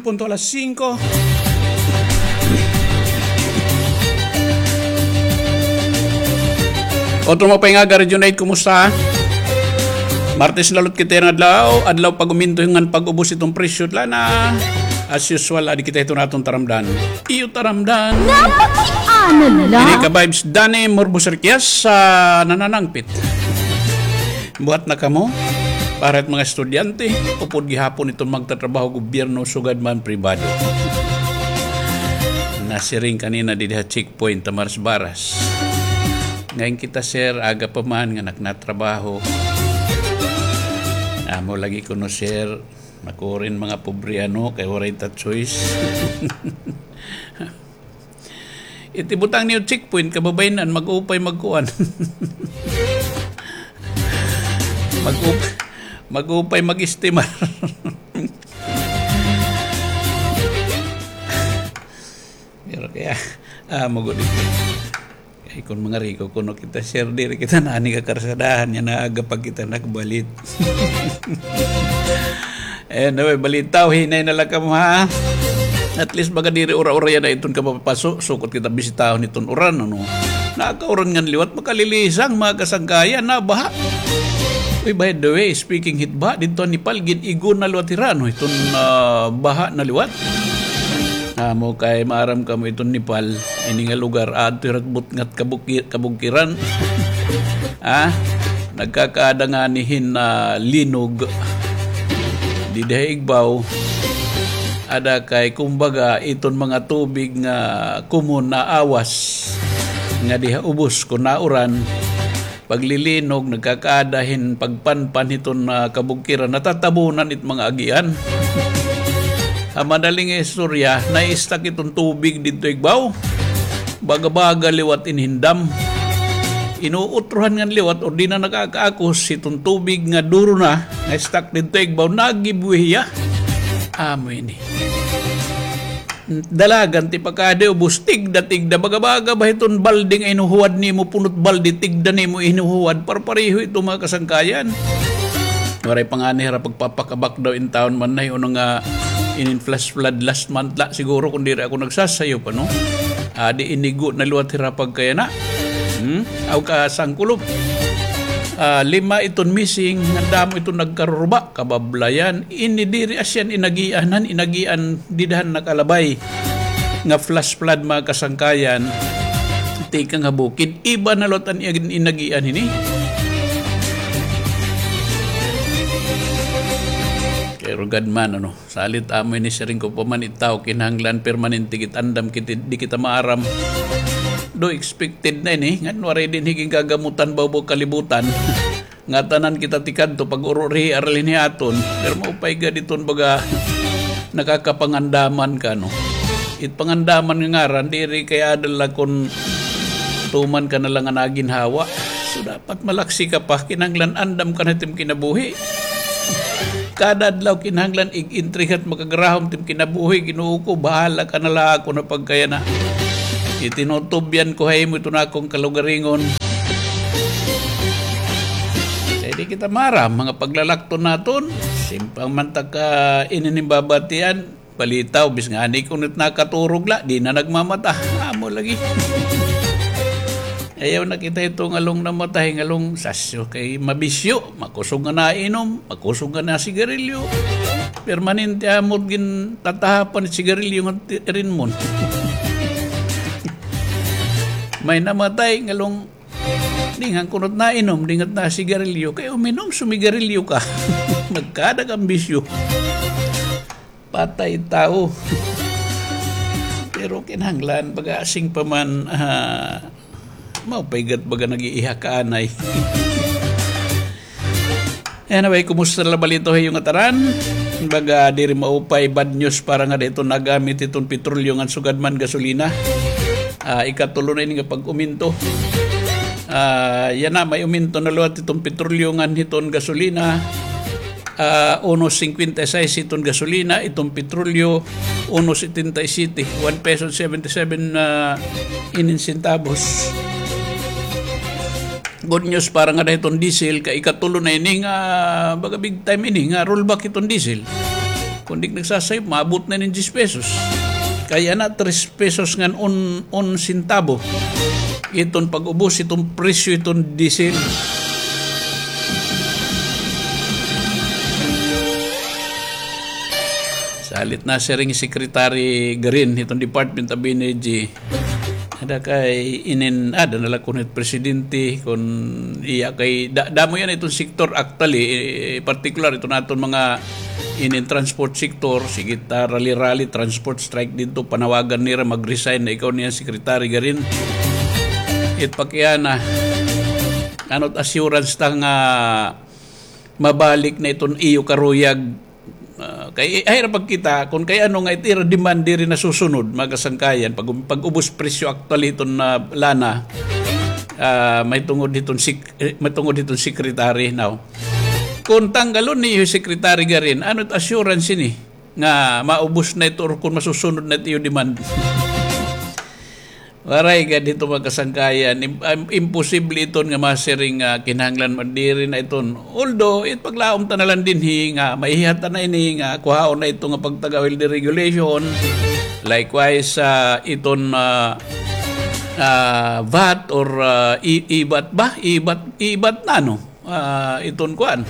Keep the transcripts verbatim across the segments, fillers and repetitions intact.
Punto alas singko. Otro maupay nga aga, Region eight, kumusta? Martes na liwat kita nga adlaw, adlaw pag-uminto ngan pag-ubos iton presyo, tla na. As usual, adi kita hiton aton taramdan. Iyo taramdan. Napakiana la. Ini ka vibes, Danny Morbos Riquez sa nananangpit. Buhat na kamo? Para it mga estudyante, upod gihapon iton magtatrabaho gobyerno, sugad man pribado. Nasiring kanina didi ha checkpoint, Tamaras Baras. Ngayon kita, sir, aga pa man nga naknatrabaho. Amo lagi kuno, sir, makurin mga pobre, ano, kay waray ta choice. Iti butang niyo checkpoint, kababaynan, mag-upay magkuan. Mag-up-, mag-upay mag-estimar. Pero kaya, ah, magudi. Ay, kun mga riko, kuno kita, sir, diri kita na ani ka karsadahan, nga naaga pa kita nagbalit. Anyway, balitaw, hinay na la kamo, ha? At least, baga diri ura-ura yana iton kapapaso, sukot kita bisitahon iton uran, ano? Nakauran ngan liwat, makalilisang, mga kasangkayan, nabaha. Uy, by the way, speaking hit baha, didto ha Nepal, gin-igo na liwat hira, ano? Iton, ah, baha na liwat. Amo kay maaram kamo iton Nepal, ini nga lugar, adto hira ha butngat kabuki-, kabugkiran. Ah, nagkakaada ngani hin, ah, linog didi ha igbaw. Ada kay, kumbaga, iton mga tubig nga common na awas nga diha ubos kon nauran, paglilinog, nagkakaada hin pagpanpan hiton, ah, kabugkiran, natatabunan it mga agian. Ha madali nga istorya, na-stuck iton tubig didto igbaw. Baga-baga liwat in hin dam. Inuutrohan ngan liwat, or di na nakakaakos hiton tubig nga duro na, na-stuck didto igbaw, nagibuhi hiya. Amo ini. Dalagan ti pakadi, ubos, tigda, tigda, baga-baga ba hiton balde nga inuhuwad nimo, punot balde, tigda nimo inuhuwad, parpareho ito, mga kasangkayan. Waray pa ngani hira pagpapakabak daw in taon man na, uno nga inin flash flood last month la, siguro, kun diri ako nagsasayop, ano? Adi inigo na liwat hira pagkayana. Hmm? Aw ka sangkulob. Ah, lima iton missing, nga damo iton nagkaruruba, kabablayan, ini diri asya inagian, han inagian dida han nakalabay nga flash flood, mga kasangkayan, tikang ha bukid, iba na liwat an ig-, inagian hini. Pero gad man, ano, salit amo ini, siring ko pa man, it tawo kinahanglan permanente git andam, kit-, di kita maaram. Do expected na ini, ngan waray dinhi gin gagamutan, bawbaw kalibutan. Ngatanan kita tikadto, pag-uro rihi, aralin hi aton. Pero maupay gad iton baga nakakapangandaman ka, no? It pangandaman nga ngaran, diri kay ada la kon tuman ka na la nga naginhawa. So, dapat malaksi ka pa, kinahanglan andam ka na it im kinabuhi. Kada adlaw kinahanglan ig-intrigat, makagarahom it im kinabuhi, Ginoo ko, bahala ka na la ha akon pagkayana. Itinutubyan ko ha imo iton akon kalugaringon. Kay di kita maaram, mga paglalakton naton, simpang man ta ka inin im babatian, balitaw, bis ngani kun it nakaturog la, di na nagmamata. Amo lagi. Ayaw na kita ito ngalong namatay, ngalong sasyo kay mabisyo, makusog nga nainom, makusog nga nasigarilyo. Permanente amo it gintatahapan it sigarilyo nga ti-, rinmon. May namatay, ngalong dingan kunot nainom, dingat nasigarilyo, kay uminom, sumigarilyo ka. Nagkada ka hin bisyo. Patay tawo. Pero kinahanglan, baga asing pa man, ah, maupay gad baga nag-iiha ka anay. Anyway, kumusta la balitaw ha iyo ngatanan? Baga diri maupay, bad news para ngada hiton nagamit hiton petrolyo ngan sugad man gasolina. Ah, ikatulo na ini nga pag-uminto. Ah, yana, may uminto na liwat hiton petrolyo ngan hiton gasolina. Ah, uno singkwenta y sais iton gasolina, iton petrolyo, uno setenta y siete, one peso seventy-seven, ah, inin centavos. Good news para ngada hiton diesel, kay ikatulo na ini nga, baga big time ini nga rollback hiton diesel. Kon di ka nagsasayop, maabot na ini hin diyes pesos. Kay yana, tres pesos ngan un, un sentabo. Iton pag-ubos, iton presyo, iton diesel. Salit nasiring hi Secretary Garin, iton Department of Energy. Ada kay inin, ada na la kon hit presidente, kon iya kay da-, damo yana iton sektor, actually, eh, partikular iton aton mga inin transport sector, sige ta rally-rally, transport strike didto, panawagan nira, mag-resign na ikaw niya, Secretary Garin. It pakiana, ano it assurance ta nga mabalik na iton iyo karuyag? Ah, kay, ay, ra pagkita, kon kay ano nga it ira demand diri nasusunod, mga kasangkayan, pag, pag-ubos presyo aktual hiton na lana, ah, may tungod hiton sik-, eh, may tungod hiton secretary now. Kon tanggalon niyo Secretary Garin, ano it assurance ini nga maubos na ito or kon masusunod na it iyo demand? Waray gad hito, mga kasangkayan. Im-, im-, imposible iton nga masiring nga kinahanglan man diri na iton. Although, it paglaom ta na lang dinhi nga maihihat ta na ini nga kuhaon na ito nga pagtaga-oil deregulation. Likewise, ah, iton, ah, ah, vat or, ah, i-, ibat ba? Ibat, ibat na, no? Ah, iton kuan.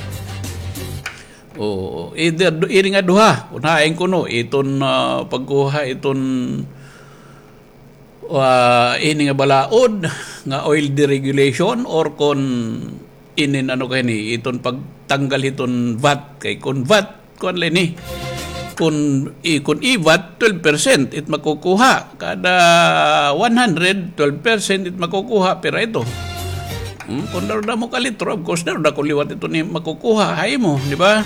Oo, either du-, iri nga duha, kun hain kuno, iton, ah, pagkuha, iton ah, ini nga balaod nga oil deregulation or kon inin ano kay ni, iton pagtanggal hiton vat, kay kon vat, kuan la ini. Kon, i-, kon ivat, twelve percent it makukuha. Kada one hundred, twelve percent it makukuha, pira ito? Hmm, kon daruda mo ka litro, of course, daruda ko liwat ito ni makukuha, ha imo, di ba?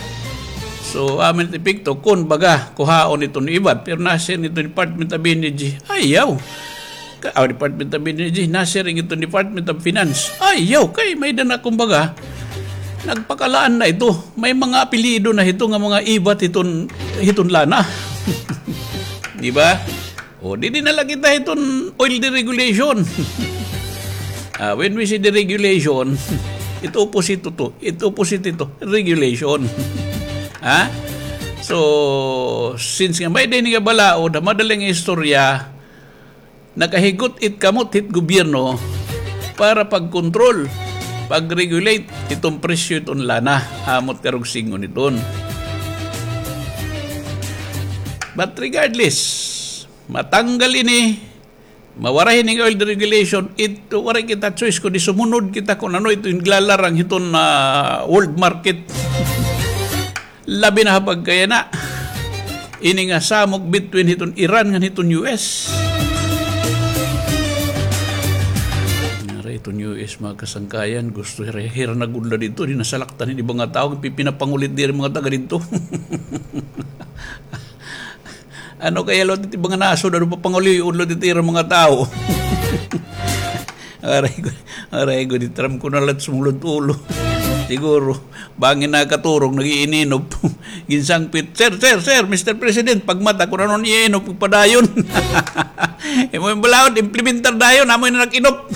So, amo it epekto, kon baga, kuhaon ito ni ibat, pero nasiring ito Department of Energy, ayaw. Ka, ah, Department of Energy, nasiring ito Department of Finance, ayaw, kay may-ada na kumbaga, nagpakalaan na ito, may mga apelyido na hito nga mga ibat hiton, hiton lana. Di ba? O, didi na la kita hiton oil deregulation. Ah, when we say deregulation, it opposite to, it opposite ito, regulation. Ha? So, since nga may-ada ini nga balaod, ha madaling istorya, nakahigot it kamot hit gobyerno para pagkontrol, pag-regulate iton presyo iton lana, amo it karuyag sidngon iton. But regardless, matanggal ini, mawaray ini nga oil deregulation, ito, waray kita choice kundi sumunod kita kon ano ito it iglalarang hiton, ah, world market. Labi na ha pagkayana, ini nga samok between hiton Iran ngan hiton U S. Nara hiton U S, mga kasangkayan, gusto hira, hira na gud la didto, di nasalaktan hin iba nga tawo, pipinapangulit diri mga taga didto. Ano kaya liwat it iba nga nasod, ano papangulion liwat it ira mga tawo? Aray ko, aray ko, di Trump ko na la sumulod ulo. Siguro, bangin nakaturog, nag-iininop. Ginsangpit, "Sir, sir, sir, Mister President, pagmata kon ano an iinop, padayon." Imo nga balaod, implementar dayon, amo na nag-inop.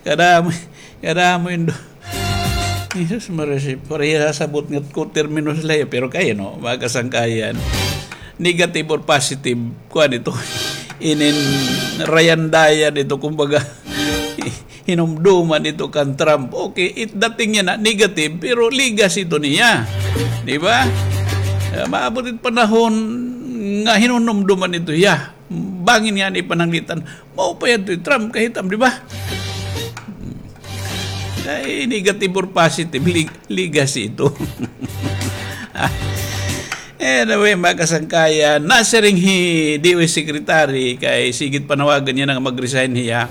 Kada amo, kada amo indo. Jesus Maria, si, pareha sabot nga ko termino sila, eh, pero kay, no, mga kasangkayan. Negative or positive, kuan ito. Inin rayandayan ito, kumbaga, hinumduman ito kan Trump. Okay, it dating niya na negative, pero legacy ito niya. Di ba? Ah, maabot it panahon nga hinunumduman ito hiya. Bangin nga ni pananglitan. Mao pa yadto hi Trump kahitam, di ba? Ay, negative or positive, leg-, legacy ito. Anyway, mga kasangkayan, nasiring hi D O H Secretary kay sige it panawagan niya nga mag-resign hiya.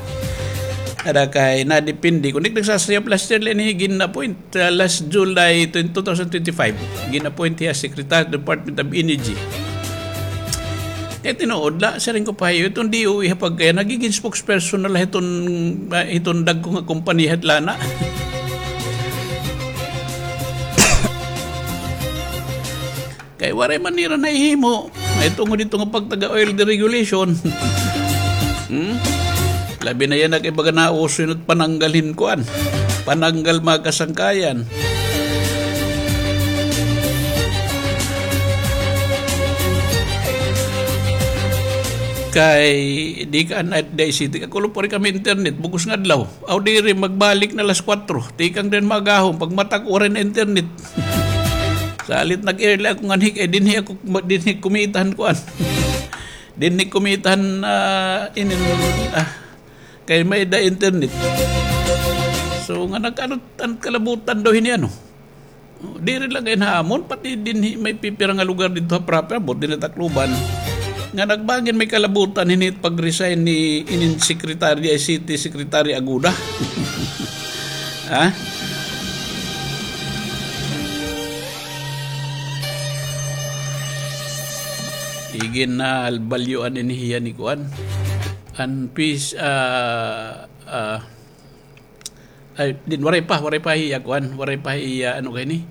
Ada kay nadepende. Kon di nagsasayop, last year la ini gin-appoint, uh, last July twenty, two thousand twenty-five. Gin-appoint hiya Secretary Department of Energy. Kay tinuod la, siring ko pa hiyo, iton D O H ha pagkaya, nagigin spokesperson na la hiton, ah, hiton dagko nga kompanya hit lana. Kay waray man nira nahihimo. Ay tungod hito nga pagtaga oil deregulation. Hmm? Labi na yana kay baga nauso yana it pananggal hin kuan. Pananggal mga kasangkayan. Kay di ka an, di city ka, kulo pa rin kami internet, bugos nga adlaw. Aw, diri, magbalik na alas kwatro. Tikang din magahon, pagmata ko, waray na internet. Salit nag-early ako nganhi, kay dinhi ako, dinhi kumitahan kuan. Dinhi kumitahan, ah, inin, ah, kay may da internet. So, nga nag-ano, an kalabutan daw hini, ano. Diri lang kay ha amon, pati dinhi may pipira nga lugar didto ha proper, abot dinhi ha Tacloban. Nga nagbangin may kalabutan hini pag-resign ni inin secretary, D I C T secretary Aguda. Ha? Igin na albalyoan ini hiya ni kuan. An peace, ah, ah, Ay, din, waray pa, waray pa hiya, kuan, waray pa hiya, ano kay ni.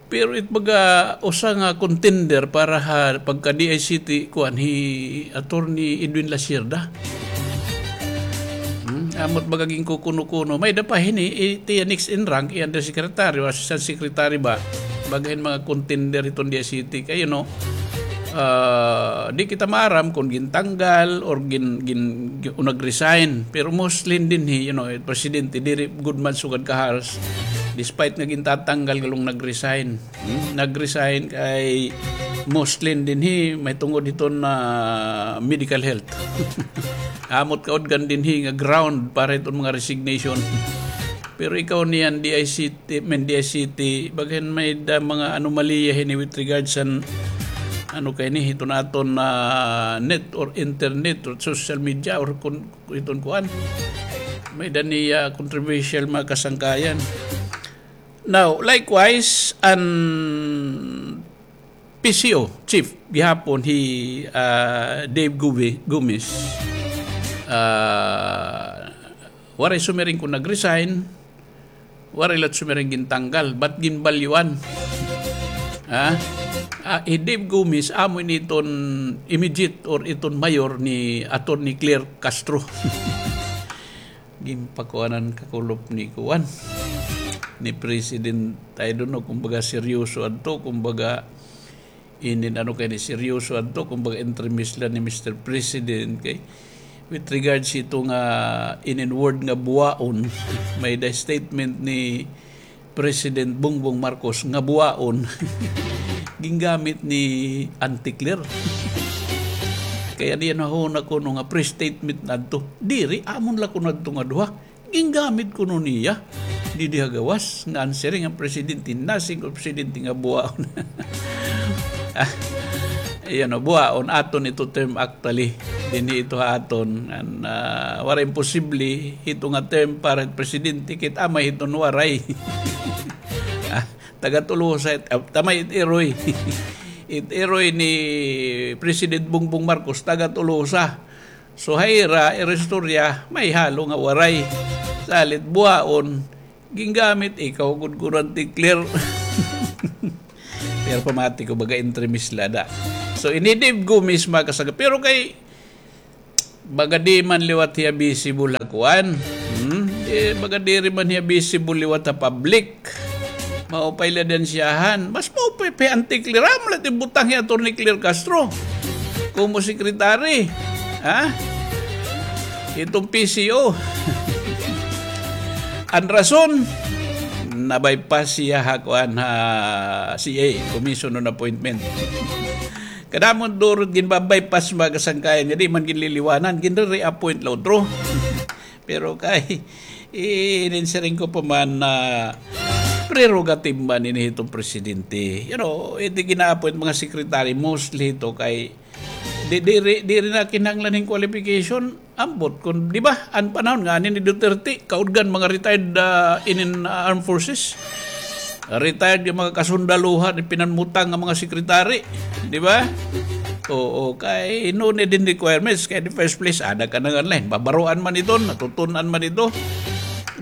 Pero it baga usa nga contender para ha pagka D I C T, kuan, hi Attorney Edwin Lasierda. Hmm, amot baga ginkukuno-kuno. May da pa hini, iti next in rank, i undersecretary o assistant secretary ba? Baga hin mga contender hiton D I C T. Kay, you know, ah, di kita maaram kon gintanggal or gin, gin, gin, o nag-resign. Pero mostly dinhi, you know, eh, presidente, diri gud man sugad ka-harsh. Despite nga gintatanggal, galong nag-resign. Hmm? Nag-resign kay mostly dinhi, may tungod hiton na medical health. Amot kaudgan dinhi nga ground para hiton mga resignation. Pero ikaw niyan, D I C T, men, D I C T, baga hin may da mga anomalya hini with regards an, ano kay ni, hiton aton, ah, net or internet or social media or kun, hiton kuan. May da niya controversial mga kasangkayan. Now, likewise, an P C O chief gihapon hi, ah, Dave Gumi-, Gomez. Ah, waray sumiring kon nag-resign, waray la sumiring gintanggal, but ginbalyuan. Ha? Ah, hi Dave Gomez, amo ini iton immediate or iton mayor ni Attorney Claire Castro. Ginpakuanan kakulop ni kuan, ni President, I don't know, kumbaga seryoso adto, kumbaga inin ano kay ni seryoso adto, kumbaga entremis la ni Mister President kay with regards hito nga inin word nga buwaon, may da statement ni President Bongbong Marcos nga buwaon, gingamit ni Auntie Claire. Kay an iya nahuna kuno nga pre-statement na adto. Diri, amon la kuno adto nga duha. Gingamit kuno niya. Didi ha gawas, nga an siring an presidente, nasing ko presidente nga buwaon. Ah, iyan o, buwaon, aton ito term actually. Dinhi ito ha aton. An, ah, waray imposible, hito nga term para presidente, kit amay hiton waray. Ah, taga Tolosa, it, ah, tamay it iroy. It iroy ni President Bongbong Marcos, taga Tolosa. So, ha ira, ira istorya, may halo nga waray. Salit buwaon, gingamit, ikaw gud kuno an Auntie Claire. Pero pamati ko, baga entremis la da. So, ini Dave Gomez, mga kasangka-, pero kay, baga di man liwat hiya visible ha kuan. Hmm? Eh, baga diri man hiya visible liwat ha public. Maupay la dansyahan. Mas maupay pa hi Auntie Claire. Amo la it ibutang hi Attorney Claire Castro komo secretary. Ha? Itong P C O. An rason, na-bypass siya ha kuan, ha C A, Commission on Appointment. Kadamo durot ginba-bypass, mga kasangkayan, nga di man ginliliwanan, ginre-reappoint la utro. Pero kay, inin siring ko pa man na prerogative man ini hiton presidente. You know, iti gina-appoint mga secretary, mostly ito kay, di, diri, diri na kinahanglan hin qualification. Ambot kon, di ba, an panahon ngani ni Duterte, kaudgan mga retired, ah, inin, ah, armed forces. Retired nga mga kasundaluhan, pinanmutang nga mga secretary, di ba? Oo, kay no need hin requirements, kay in the first place, ada ka na nga line, babaroan man ito, natutun-an man ito.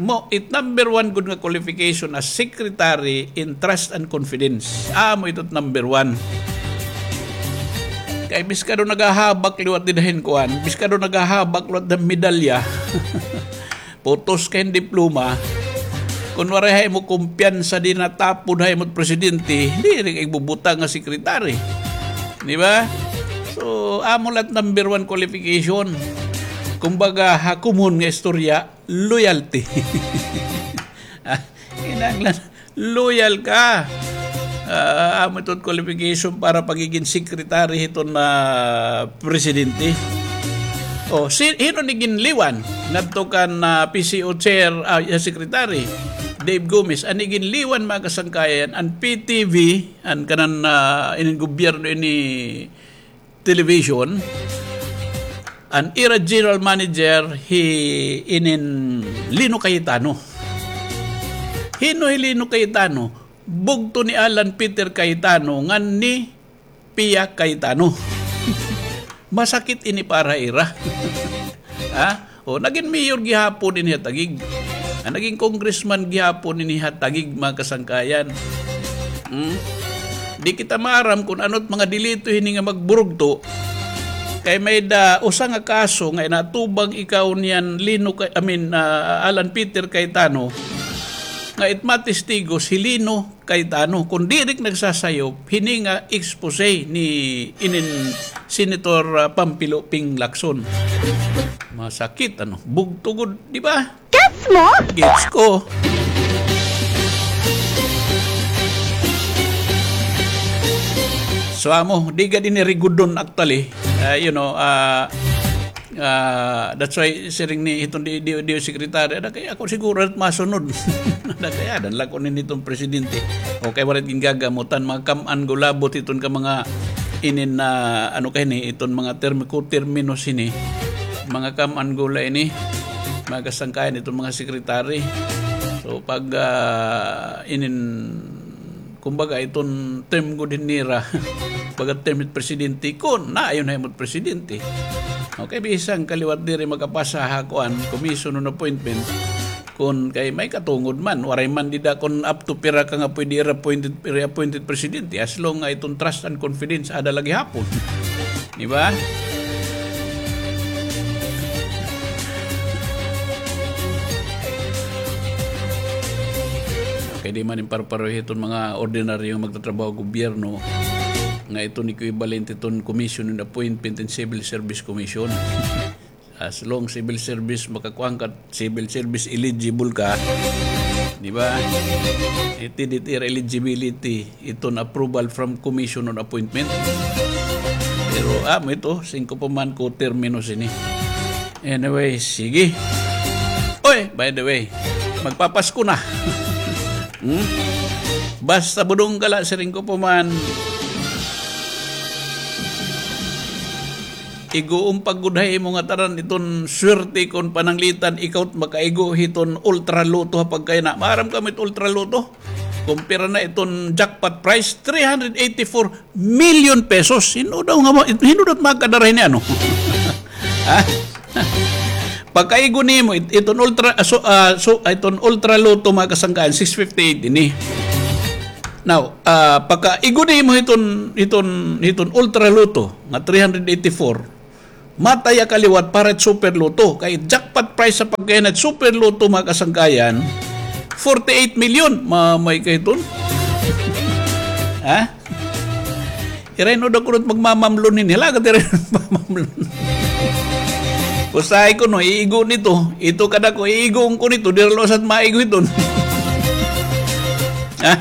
Mo, it number one gud nga qualification as secretary in trust and confidence. Amo ito it number one. Kay biskado nagahabak liwat dida hin kuan, biskado nagahabak liwat da medalya. Putos kay diploma. Kun waray ha imo kumpiyansa, di natapod ha imo presidente, diri ka igbubutang nga secretary. Di ba? So, amo la it number one qualification. Kumbaga, ha common nga istorya, loyalty. Ah, kinahanglan, loyal ka. Ah, amo ito qualification para pagiging secretary hiton, ah, presidente. O, si, hin-o ini ginliwan? Ngadto kan, ah, P C O chair, ah, secretary, Dave Gomez. An iginliwan, mga kasangkayan, an P T V, an kanan, ah, inin gobyerno ini television, an ira general manager hi inin Lino Cayetano. Hin-o hi Lino Cayetano? Bugto ni Alan Peter Cayetano ngan ni Pia Cayetano. Masakit ini para ira. Ha? O, nagin mayor gihapon ini ha Taguig. Ah, nagin congressman gihapon ini ha Taguig, mga kasangkayan. Hmm? Di kita maaram kon ano it mga delito hini nga magburugto. Kay may-ada usa nga kaso nga inatubang ikaw niyan Lino Cay-, I mean, ah, Alan Peter Cayetano, nga it matestigos hi Lino Cayetano, kon diri ka nagsasayop hini nga expose ni inin Senator, ah, Panfilo Ping Lacson. Masakit, ano? Bugto gud, di ba? Gets mo? Gets ko. So, amo, di gad ini rigudon, actually. Ah, you know, ah, Ah, that's why siring ni hiton D-, D-, D O secretary, ada kay ako siguro it masunod. Ada kay adan la ko ini hiton presidente. O kay waray gingagamutan, mga kam-an gulabot hiton ka mga inin na, ano kay ni, hiton mga term-, ko terminos hini. Mga kam-an gula ini, mga kasangkayan hiton mga secretary. So, pag, ah, inin Kumbaga, iton term gud hin nira. Baga term hit presidente, kun naayon ha imo it presidente. Okay, bisan ka liwat diri makapasa ha kuan, commission on appointment. Kun kay may katungod man, waray man dida kun up to pira ka nga pwede i-reappointed, reappointed presidente, as long nga iton trust and confidence, ada la gihapon. Di ba? Kay di man in parpareho hiton mga ordinaryo nga magtatrabaho gobyerno, nga iton equivalent hiton Commission on Appointment and Civil Service Commission. As long civil service makakuan ka, civil service eligible ka, di ba? Iti, iti ira eligibility, iton approval from Commission on Appointment. Pero, ah, amo ito, singko pa man ko termino sini. Anyway, sige. Oy, by the way, magpapasko na. Hmm? Basta budong ka la, siring ko pa man. Igoon pa gud ha imo nga tanan iton swerte kon pananglitan ikaw it makaigo hiton Ultra Lotto ha pagkayana. Maaram kamo it Ultra Lotto? Kon pira na iton jackpot prize, three hundred eighty-four million pesos. Hin-o daw nga ma-, hin-o daw it makadara hini, ano? Ha? Pagkaigo nimo, it-, iton Ultra, ah, so, ah, so, ah, iton Ultra Lotto, mga kasangkayan, six fifty-eight ini. Now, ah, pagkaigo nimo hiton, hiton, hiton Ultra Lotto nga three hundred eighty-four, mataya ka liwat para it Super Lotto. Kay jackpot prize sa pagkainat Super Lotto, mga kasangkayan, forty-eight million. Mamay kay ton. Ha? Iray no da kunot magmamamlon hini. Hala ka, iray no magmamamlon. Usahay ko, no, iigo nito. Ito kada ko, iigo ko nito. Diri la usat maigo iton. Ha?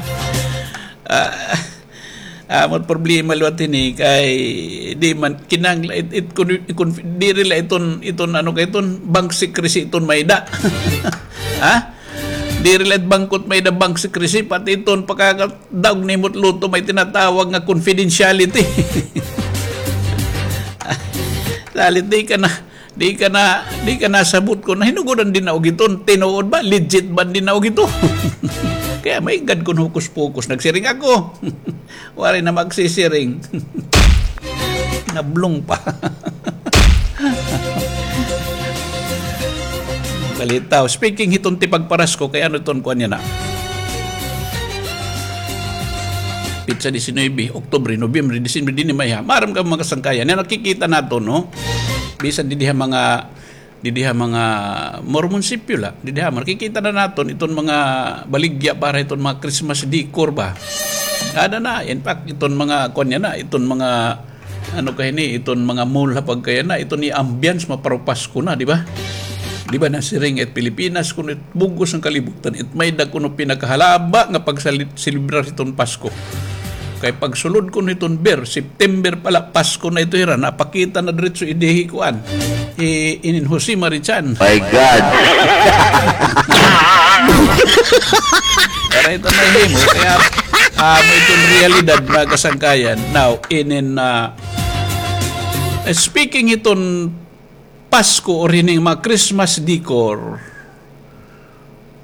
Ah, amo it problema liwat hini kay di man kinahanglan it, it, kun, kun, diri la iton, iton ano kay iton bank secrecy iton may-ada. Ha? Diri la it bangko it may-ada bank secrecy, pati iton pagkakadaog nimo it lotto may tinatawag nga confidentiality. Salit di ka na Di ka na, di ka nasabot kon nahinugot an dinaog iton. Tinuod ba? Legit ba an dinaog ito? Kaya may gad kon hokus-pokus. Nagsiring ako. Waray na magsisiring. Nablong pa. Balitaw. Speaking hiton tipagparasko, kay ano iton kuan yana? Petsa disinuybe, Oktubre, Nobyembre, Disyembre, dinhi may ha. Maaram ka, mga kasangkayan, nga nakikita naton, no? Bisan didi ha mga, didi ha mga munisipyo la, didi ha, makikita na naton iton mga baligya para iton mga Christmas decor ba. Ada na, in fact, iton mga, kuan yana, iton mga, Ano ka hini, iton mga mall ha pagkayana, iton iya ambience, maparupas ko na, di ba? Di ba nasiring it Pilipinas, kuno it bug-os nga kalibutan, it may-ada kuno pinakahalaba nga pagsalit-, selebrar hiton Pasko. Kay pagsulod kuno hiton ber, September pa la, Pasko na ito hira, napakita na diretso idi hi kuan. Hi inin Jose Marichan. My God! Para ito mahimo, kaya, ah, may itong realidad, mga kasangkayan. Now, inin, ah, speaking iton Pasko or hining mga Christmas decor,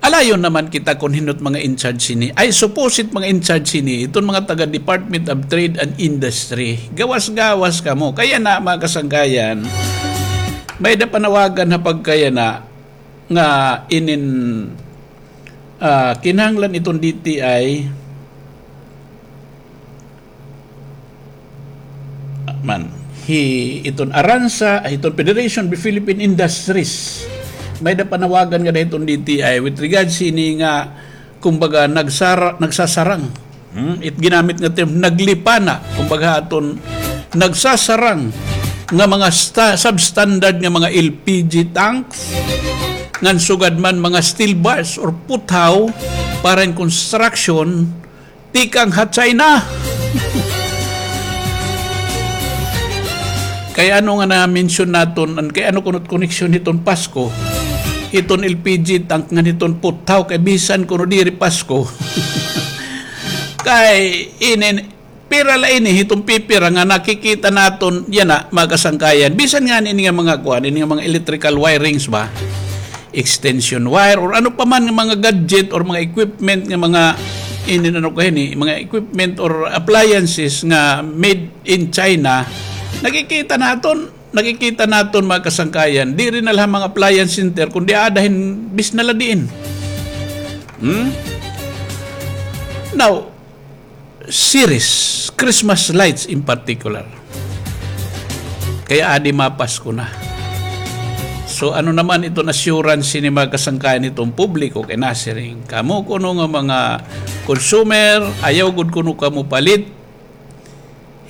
alayon naman kita kon hin-o it mga in charge hini. Ay, supposed mga in charge hini, iton mga taga Department of Trade and Industry. Gawas-gawas kamo. Kay yana, mga kasangkayan, may-ada panawagan ha pagkayana nga inin, ah, kinahanglan iton D T I man, hi, iton ARANSA, iton Federation of Philippine Industries. May-ada panawagan ngada hiton D T I with regards hini nga, kumbaga, nagsara-, nagsasarang. Hmm? It ginamit nga term, naglipana. Kumbaga, aton nagsasarang nga mga sta-, substandard nga mga L P G tanks, ngan sugad man mga steel bars or puthaw para in construction, tikang ha China. Kay ano nga na-mention naton, an-, kay ano kuno it koneksyon hiton Pasko, hiton L P G tank ngan hiton puthaw, kay bisan kuno diri Pasko. Kay inin, pira la ini, hiton pipira nga nakikita naton, yana, mga kasangkayan. Bisan ngani ini nga mga kuan, ini nga mga electrical wirings ba? Extension wire or ano pa man nga mga gadget or mga equipment nga mga inin ano ka hini, mga equipment or appliances nga made in China, nakikita naton, nakikita naton, mga kasangkayan, diri na la ha mga appliance center, kundi aada hin bisna la diin. Hmm? Now, series, Christmas lights in particular. Kay adi mapasko na. So, ano naman iton assurance hini mga kasangkayan hiton publiko kay nasiring, kamo kuno nga mga consumer, ayaw gud kuno kamo palit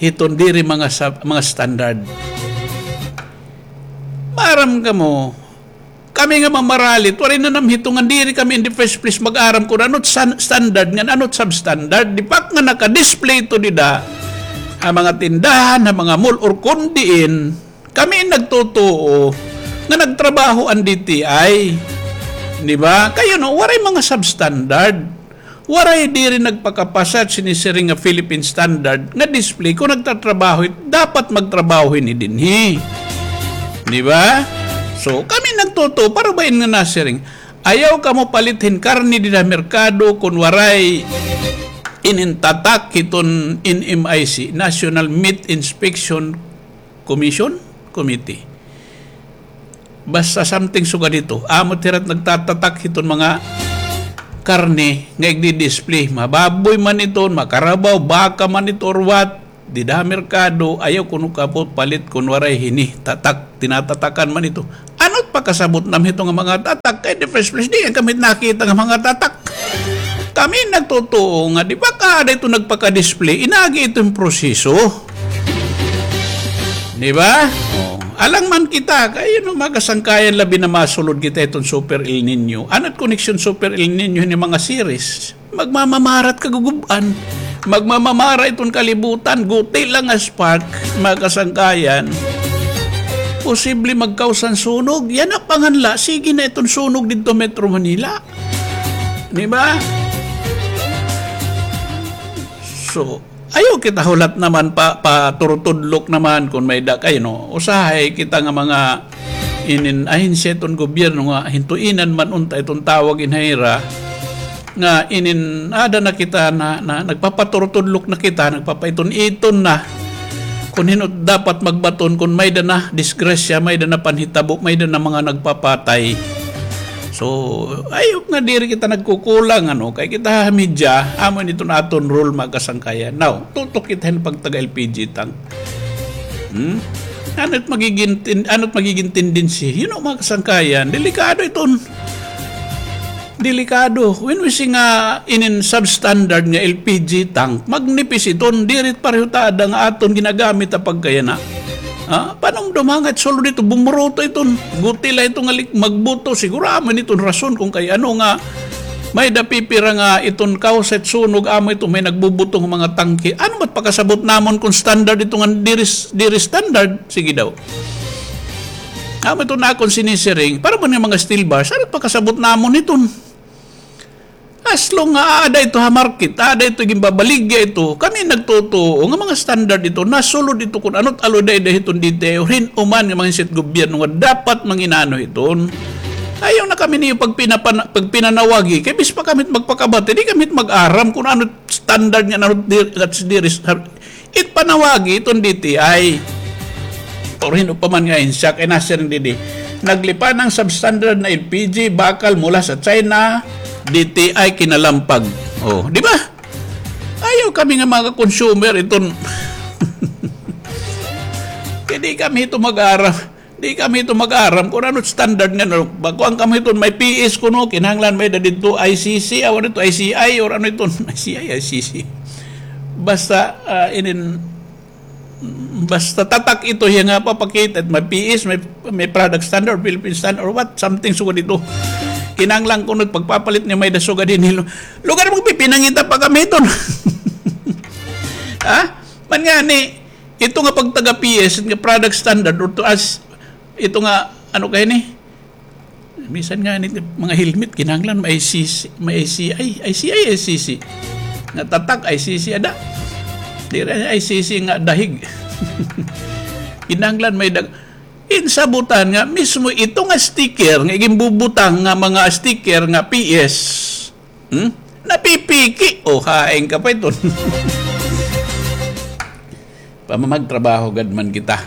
hiton diri mga sa-, mga standard. Maaram kamo, kami nga mamaralit, waray nanamhit ngan diri kami in the first place mag-aram kon ano it san-, standard ngan ano it substandard. Di pa nga naka-display ito dida ha mga tindahan, ha mga mall, or kon diin, kami in nagtutuo nga nagtrabaho an D T I. Di ba? Kay ano, waray mga substandard. Waray diri nagpakapasa sini siring nga Philippine standard nga display kon nagtatrabaho it, dapat magtrabaho hini dinhi. Di ba? So, kami nagtutuo, para ba in nga nasiring, ayaw kamo palit hin karne dida ha merkado kon waray inin tatak hiton N M I C, National Meat Inspection Commission, Committee. Basta something sugad hito. Amo it hira it nagtatatak hiton mga karne nga igdi-display. Mababoy man iton, makarabaw, baka man ito or what. Dida ha merkado, ayaw kuno kamo palit kon waray hini tatak, tinatatakan man ito. Ano it pakasabot nam hito nga mga tatak? Kay in the first place, diri kami nakita nga mga tatak. Kami nagtutuo nga, di ba, kaada ito nagpaka-display, inagi ito hin proseso. Di ba? Oh. Alang man kita, kay, you know, mga kasangkayan, labi na masulod kita hiton Super El Nino. Ano it koneksyon Super El Nino hini mga series? Magmamamara it kagugub-an. Magmamamara iton kalibutan. Guti la nga spark, mga kasangkayan, posible magkausan sunog. Yana pa ngan la, sige na iton sunog didto Metro Manila. Di ba? So, ayaw kita hulat naman pa, paturutudlok naman kon may-ada kay, no? Usahay kita nga mga inin ahensya iton gobyerno nga hintuinan man unta iton tawag in ha ira, nga inin aada na kita na, na nagpapaturutudlok na kita, nagpapaiton-iton na. Kon hin-o dapat magbaton, kon may-ada na disgrasya, may-ada na panhitabo, may-ada na mga nagpapatay. So, ayaw nga diri kita nagkukulang, ano, kay kita ha media, amo ini iton aton role, mga kasangkayan. Now, tutok kita hin pagtaga L P G tank. Hmm? Ano it magiging tin-, ano it magiging tendency? You know, mga kasangkayan, delikado iton. Delikado. When we say nga inin substandard nga L P G tank, magnipis iton, diri pareho ta ada nga aton ginagamit ha pagkayana. Ha? Panumdum ha nga sulod ito, bumuruto iton. Guti la ito nga lik-, magbuto. Siguro amo iton rason kung kay ano nga may da pipira nga iton cause it sunog, amo ito may nagbubuto nga mga tangke. Ano ba't pakasabot namon kung standard ito nga diri, diri standard? Sige daw. Amo ito na akon sinisiring. Para man nga mga steel bars, ano pakasabot namon iton? As long nga aada ito ha market, aada ito ginbabaligya ito, kami nagtutuo nga mga standard ito, nasulod ito kun ano't alloy da hiton D T I, hin uman nga mga insit gobyerno nga dapat manginano hiton. Ayaw na kami niyo pagpinapana-, pagpinanawagi, kay bis pa kami't magpakabati, di kami't mag-aram kun ano't standard nga nano't dir-, nano't diri, It panawagi iton D T I. Or hin-o pa man nga ahensya kay nasiring didi. Naglipan ang substandard na L P G bakal mula sa China, D T I kinalampag. Oh, di ba? Ayaw kami nga mga consumer iton. Kay di kami ito mag-aram. Di kami ito mag-aram kun ano standard nga, ano, ba, kuan kami iton, may P S kuno, kinahanglan may da didto I C C, awan ito, I C I, or ano iton, I C I, I C C. Basta, ah, inin, basta tatak ito, hiya nga papakita, may P S, may, may product standard, Philippine standard, or what, something sugad ito. Kinahanglan kuno, pagpapalit niya may da sugad ini. Lugar mo, pinangita pa kami iton. Ha? Man nga ni, ito nga pagtaga P S nga product standard or to as, ito nga, ano kay ni? Bisan nga ni mga helmet, kinahanglan may I C C, may I C I, I C I, I C C. Nga tatak, I C C ada. Diri I C C nga dahig. Kinahanglan may dag-, insabutan nga mismo ito nga sticker, nga iginbubutang nga mga sticker nga P S. Hmm? Napipiki. O, hain ka pa iton. Pamamagtrabaho gad man kita.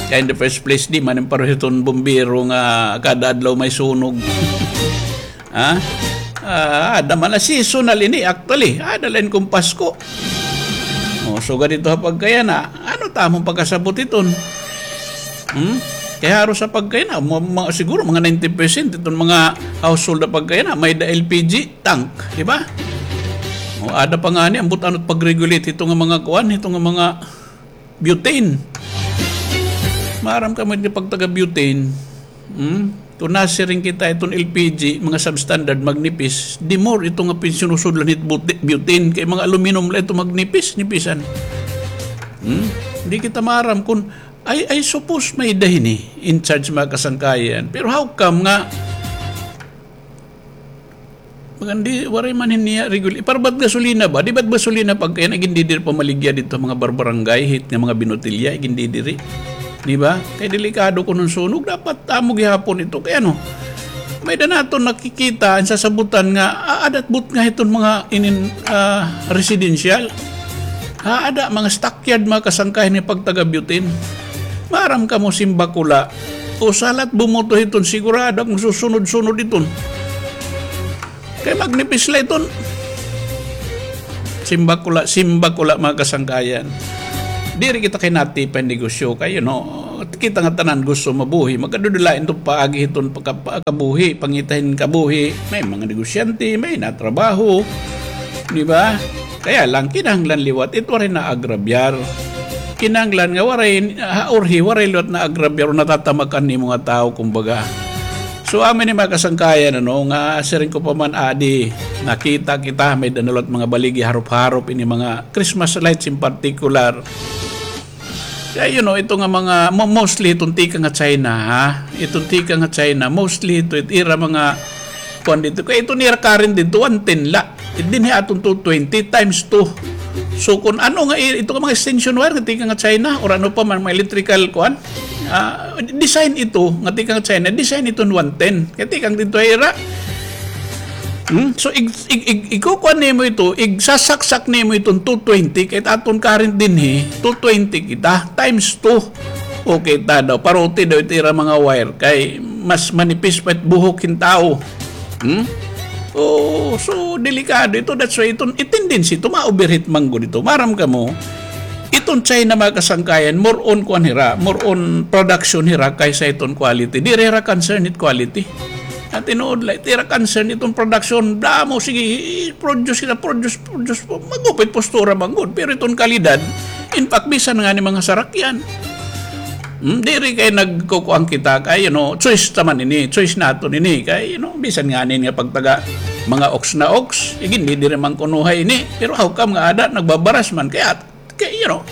Kay in the first place, di man pareho iton bumbero nga kada adlaw may sunog. Ha? Ah, ada man la seasonal ini, actually. Ada la ini kun Pasko. O, sugad ito ha pagkayana. Ano ta amon pagkasabot iton? Hmm? Kay haros ha pagkayana, ma-, ma-, siguro mga ninety percent iton mga household ha pagkayana, may da L P G tank, di ba? O, ada pa ngani, ambot ano't pag-regulate ito nga mga kuan, ito nga mga butane. Maaram kamo nga pagtaga butane, hmm? Kun nasiring kita iton L P G, mga substandard, magnipis, di more ito nga pinsinusudlan hit buti-, butane, kay mga aluminum la ito magnipis, nipisan. Hmm? Di kita maaram kun, I, I suppose may da hini in charge mga kasangkayan. Pero how come nga Magandi, waray man hin niya regular. Para ba't gasolina ba? Di ba't gasolina pagkayana, igindidiri pamaligya didto mga barbarangay, hit nga mga binotilya, igindidiri. Di ba? Kay delikado kun hin sunog, dapat amo gihapon ito. Kay ano, may da naton nakikita, an sasabutan nga, ah, adat but nga hiton mga inin, ah, residential. Ah, ada, mga stockyard, mga kasangkayan ni pagtaga-butane. Maaram kamo, simbako la. Usa la it bumoto hiton, sigurado ak magsusunod-sunod iton. Kay magnipis la iton. Simbako la, simbako la, mga kasangkayan. Diri kita kay natipan negosyo kay, you know, kita nga tanan gusto mabuhi. Magkadudulain to paagi hiton pagka-, pagkabuhi, pangita hin kabuhi. May mga negosyante, may natrabaho. Di ba? Kaya lang, kinahanglan liwat, it waray naagrabyar. Kinahanglan nga waray, ha, urhi, waray liwat naagrabyar o natatamakan nimo nga tawo, kumbaga. So, amo ini mga kasangkayan, ano, nga siring ko pa man, adi, nakita kita, may da na liwat mga baligi, harop-harop, ini mga Christmas lights in particular. Kaya, you know, ito nga mga, mo-, mostly itong tikang ha China, ha? Itong tikang ha China, mostly ito, it ira mga, kuan didto. Kaya ito nira current didto, one ten la. It dinhi aton two twenty times two. So, kung ano nga i-, ito nga mga extension wire nga tikang ha China, or ano pa man, mga electrical, kuan, ah, design ito, nga tikang ha China, design ito one ten. Kaya tikang didto ira. Hmm? So, ig-, ig-, ig-, ikukuan nimo ito, igsasaksak nimo iton two twenty, kay aton current dinhi, two twenty kita, times two. Okay ta daw, paruti daw ito ira mga wire, kay mas manipis pa it buhok hin tawo. Hmm? Oh, so, delikado ito. That's why ito, it tendency ito, ma-overheat man gud ito. Maaram kamo, iton China, mga kasangkayan, more on kuan hira, more on production hira kaysa iton quality. Diri hira concern it quality. Tinuod la, it ira concern iton production. Damo, sige, produce kita, produce, produce. Mag-upay postura man gud. Pero iton kalidad, in fact, bisan ngani mga sarakyan. Hmm, diri kay nagkukuan kita kay, you know, choice ta man ini, choice naton ini kay, you know, bisan ngani nga pagtaga mga ox na ox, igin di diri man kunuhay ini. Pero how come nga ada nagbabaras man kay at Kay, you know,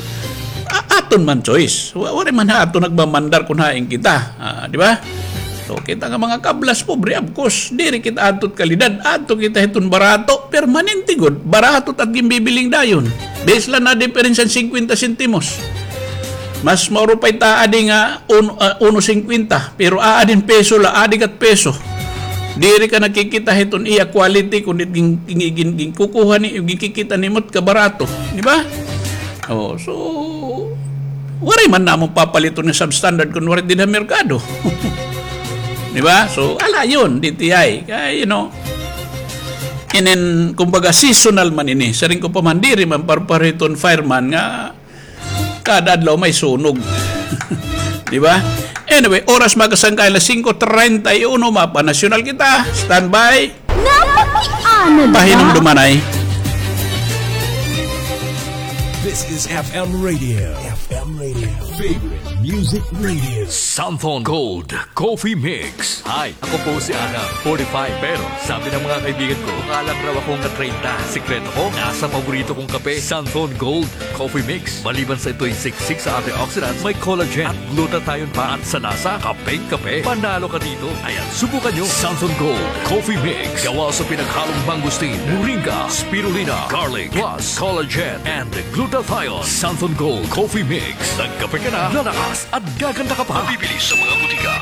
a-, aton man choice. Wa-, waray man ha aton nagmamandar kun hain kita. Ah, di ba? So, kita nga mga kablas, pobre, of course, diri kita adto kalidad, adto kita hiton barato, permanente gud, barato it ginbibiling dayon. Base la na diferensya singkwenta sentimos. Mas mauro pa it aadi nga un-, ah, uno singkwenta, pero aadi hin peso la, aadi kat peso. Diri ka nakikita hiton iya quality, kundi gin-, gin-, gin-, ginkukuha ni, ginkikita nimo it kabarato, di ba? Oh, so, waray man namon papaliton nga substandard kun waray dida ha merkado. Di ba? So, ala yun, D T I. Kaya, you know, inin, kumbaga, seasonal man ini. Siring ko pa man, diri man parpariton fireman nga kada adlaw may sunog. Di ba? Anyway, oras makasangkay alas singko treinta y uno, mapa nasyonal kita. Standby. Napakiana na. Pahinumdumanay. This is F M Radio. F M Radio. Favorite music radio. Santhon Gold Coffee Mix. Hi, ako po si Adam, forty-five. Pero sabi ng mga kaibigan ko, mukha lang raw akong treinta. Sikreto ko, nasa paborito kong kape, Santhon Gold Coffee Mix. Maliban sa ito'y siksik sa antioxidants, may collagen at glutathione pa at sa lasa, kapeng-kape. Panalo ka dito. Ayan, subukan nyo. Santhon Gold Coffee Mix. Gawa sa pinaghalong mangosteen, moringa, spirulina, garlic, plus collagen and glutathione. Santhon Gold Coffee Mix. Nagkape ka na, lalakas at gaganda ka pa. Mabibili sa mga butika.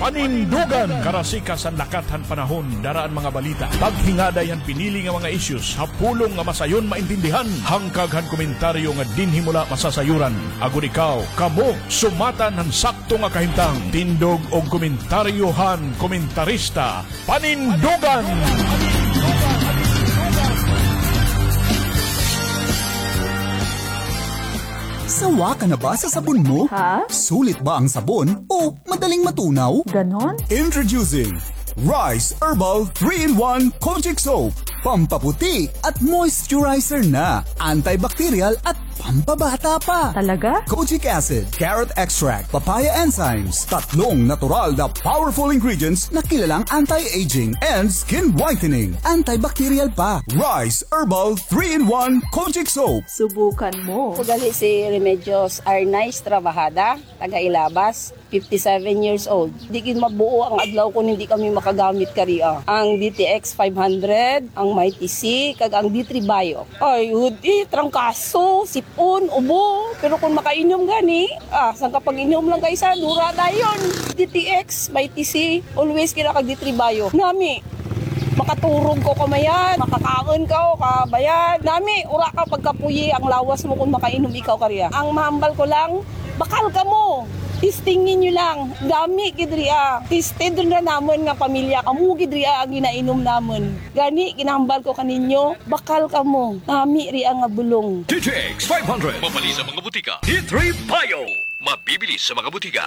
Panindugan! Karasikas han lakat han panahon, dara an mga balita. Paghingaday han pinili nga mga issues ha pulong nga masayon maintindihan. Hangkag han komentaryo nga dinhi mo la masasayuran. Agod ikaw, kamo, sumatan han sakto nga kahimtang. Tindog og komentaryo han komentarista. Panindugan! Sawa ka na ba sa sabon mo? Ha? Sulit ba ang sabon o madaling matunaw? Ganon? Introducing Rice Herbal three-in-one Kojic Soap. Pampaputi at moisturizer na. Antibacterial at pampabata pa. Talaga? Kojic acid, carrot extract, papaya enzymes, tatlong natural na powerful ingredients na kilalang anti-aging and skin whitening. Antibacterial pa. Rice Herbal three-in-one Kojic Soap. Subukan mo. Ako gali si Remedios Arnaiz Trabajada, taga Ilabas. Fifty-seven years old. Di gid mabuo ang adlaw kon hindi kami makagamit karia. Ang D T X five hundred, ang Mighty C, kag ang D three Bio. Ay, hudi, trangkaso, sipon, ubo. Pero kon makainom gani, ah, sangka pag-inom lang kay isa, dura dayon. D T X, Mighty C, always kira kag D three Bio. Nami, makaturog ko kamayan, makakaon ka o kabayan. Nami, ura ka pagkapuyi ang lawas mo kon makainom ikaw karia. Ang mahambal ko lang, bakal kamo. Testingin niyo lang. Dami gid ria. Tested rin na namon nga pamilya. Amo gid ria ang ginainom namon. Gani, ginahambal ko kaninyo, bakal kamo. Nami ria nga bulong. D T X five hundred. Mapalit sa mga butika. D three Bio. Mabibili sa mga butika.